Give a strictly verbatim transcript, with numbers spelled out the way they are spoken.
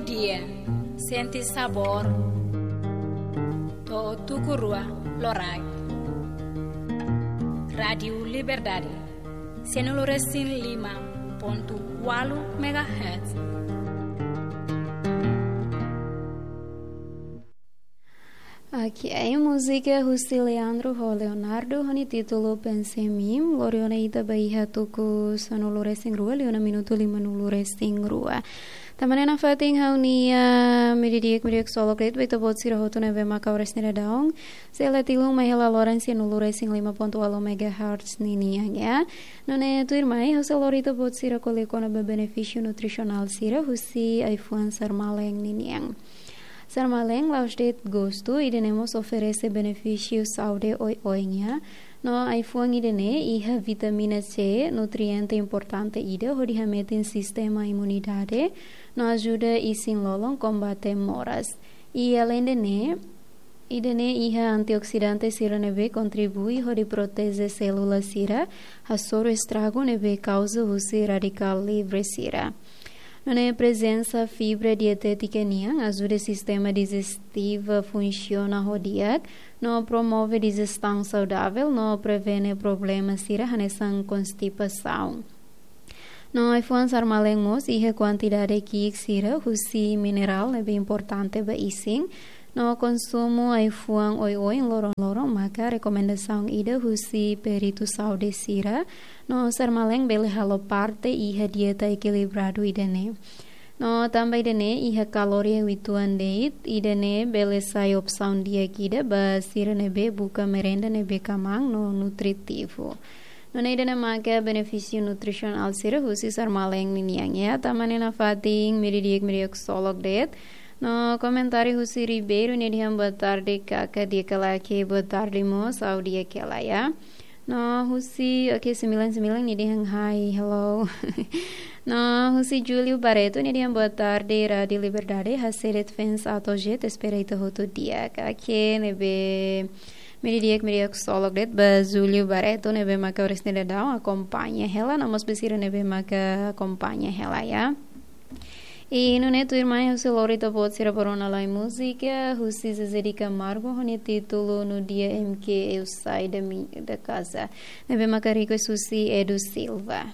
Dia, sente sabór. To'o tuku rua loraik. Rádiu Liberdade, sanulu-resin-lima pontu ualu megahertz. Oke, múzika husi Leandro ho Leonardo, ho nia títulu Pense em Mim, lori ona ita ba iha tuku sanulu-resin-rua, liu ona minutu limanulu-resin-rua. Tan ne'e nafatin ha'u-nia, ah, meiudia di'ak, meiudia ksolok de'it ba ita-boot sira hotu ne'ebé maka oras ne'e daudaun sei la tilun mai hela loron sanulu-resin-lima pontu ualu megahertz ninian, ya. Nune'e tuirmai, ha'u sei lori ita-boot sira ko'alia kona-ba benefísiu nutrisionál sira husi ai-fuan sarmaleng ninian. Sarmaleng la'ós de'it gostu, ida-ne'e mós oferese benefísiu saúde oioin, ya. No ai-fuan ida-ne'e iha vitamina C, nutriente importante ida hodi hametin sistema imunidade, no ajuda isin-lolon kombate moras. I aleinde ne'e, ida-ne'e iha antioksidante sira ne'ebé kontribui hodi proteje sélula sira hasoru estragu ne'ebé kauza husi radikál livre sira. Nune'e prezensa fibra dietétika nian ajuda sistema dijestiva funsiona ho di'ak, no promove dijestaun saudavel, no prevene problema sira hanesan konstipasaun. No ai-fuan sarmaleng mós iha kuantidade ki'ik sira husi minerál ne'ebé importante ba isin, no konsumu ai-fuan oioin loron-loron maka rekomendasaun ida husi peritu saúde sira, no sarmaleng bele halo parte iha dieta ekilibradu ida-ne'e. No tanba ida-ne'e iha kaloria uitoan de'it, ida-ne'e bele sai opsaun di'ak ida ba sira ne'ebé buka merenda ne'ebé kmaan no nutritivu. Nune'e ida-ne'e maka benefísiu nutrisionál sira husi sarmaleng ninian, ya. Tan ne'e nafatin meiudia di'ak, meiudia ksolok de'it. No komentáriu husi Ribeiro, nia dehan boa tarde, kaka di'ak ka lae? Oke, boa tarde mós, ha'u di'ak hela, ya. No husi, oke, sembilan sembilan, nia dehan hi, hello. No husi Júlio Barreto, nia dehan boa tarde, Rádiu Liberdade, hase'e de'it fans ato jet, espera ita hotu di'ak. Oke, ne'ebé meiudia di'ak, meiudia ksolok de'it ba Júlio Barreto, ne'ebé maka oras ne'e daudaun akompaña hela, no mós ba sira ne'ebé maka akompaña hela, ya. I nune'e tuirmai ha'u sei lori ita-boot sira ba rona lai múzika husi Zezé de Camargo, ho nia títulu No Dia em que Eu Saí da Mi-, da Casa, ne'ebé maka request husi Edu Silva.